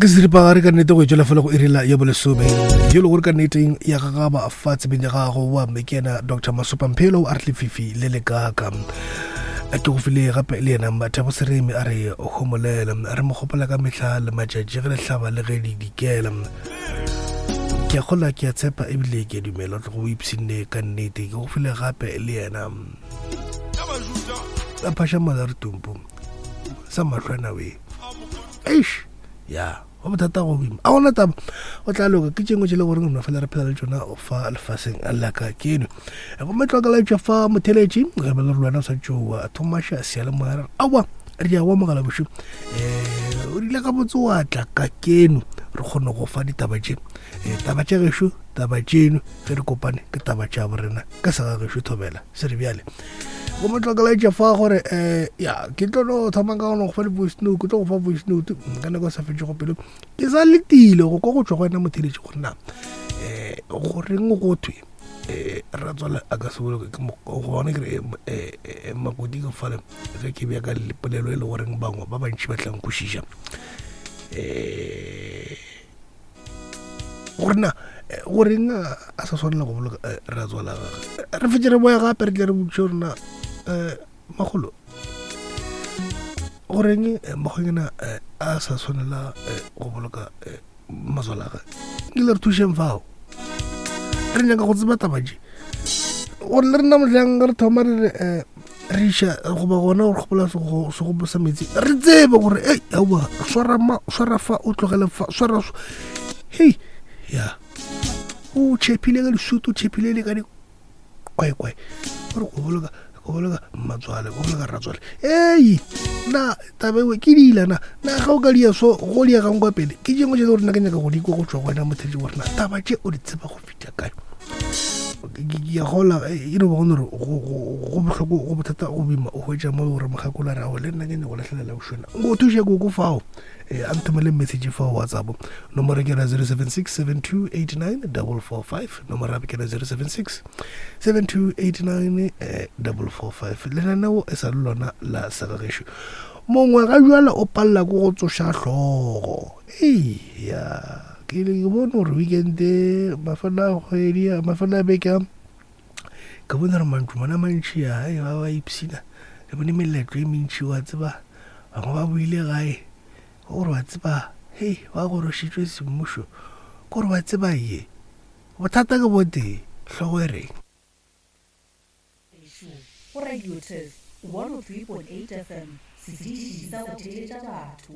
Ke seripagare ka nnete go etšwela fela go irela ya bolesome yo le gore ka nneteng ya gagaba fa tsebeng ya gago wa mme ke yena Dr Masopa Mphelo a re lefifi le le kaka ke go file gape le yena Mathabo Seremi a re homolela re mo gopola ka mehla le matšatši ge le hlaba le ge le dikela ke a gola ke a tshepa ebile ke a dumela tlo go ipshinne ka nnete ke go file gape le yena a phasha mala re tumpu sa mahlwana we eish ya go bothata go boima a gona taba o tla loka ke tšengwe tše le goreng rona fela re phela le tšona fa lefaseng la ka keno gomme tlwaka la tšwa fa motheletši re be le re lwana o sa tšoa thomaša seyalemoya re aowa re ya wa mogala bošo um o rile gabotse wa tla ka keno re kgone go fa ditaba tše um taba tša gešo taba tšeno ge re kopane ke taba tša borena ka sega gešo thobela se re bjale go motlokelaetša fa gore um ya ke tlo no thoma ka gona go fa di-voice note ke tlo go fa voice note ka nako e sa fetšego pelo ke sa letile go kwa go tšwa go wena motheletši gore na um goreng go thwe um ratswale a ka se boloke ke gona ke re makoti ke fale ge ke bja ka polelo e le goreng bangwe ba bantši ba tlang kwešiša um gore na eh, goreng a sa swanela go boloka eh, ratswala gage re fetse re boya gape re tle re botse gore na um magolo goreng makgonyana a sa swanela go boloka matswala gage ke le re thušeng fao re nyaka go tseba taba je gore le rena mohlang re thoma re re um re iša goba gona gore kgopola segopo sa metsi re tsebe gore ei aowa swara ma swara fa o tlogele fa swara hei ya o tšhephile ka disutu o tšhephile le ka dikwaekwae gore go boloka go boloka mmatswale go boloka ratswale ei na taba ewe ke dila na na ga o ka dia so go diegang kwa pele ke tšengwe tše le gore nna ke nyaka go di kwa go tšwa go wena motheletši gore na taba tše o di tseba go fihla kae ke a gola e no ba gone gore go bohloko go bothata go boima o hwetša mo gore mokgakolo a re ao le nna ke nyako lahlelela bošona nko thuše koko fao um a nthomele message fao whatsapp nomoro ke yona 076 7289 445 nomoro gape ke yona 076 7289 445 lenaneo e sa le lona la segagešo mongwe ga jwale o palela ko go tsoša hlogo Eya, ke ile ke bone gore weekend mafelo a kgwedi mafelo a beke a ke bone gore mantlo mana mantši a e ba ba ipshina re bone meletlo e mentši wa tseba bangwe ba boile gae gore wa tseba hei ba gorošitšwe semmušo gore wa tseba ye bothata ke botee hlogo e reng Go Radio Turf 103.8 FM, setiši sa go theeletša batho.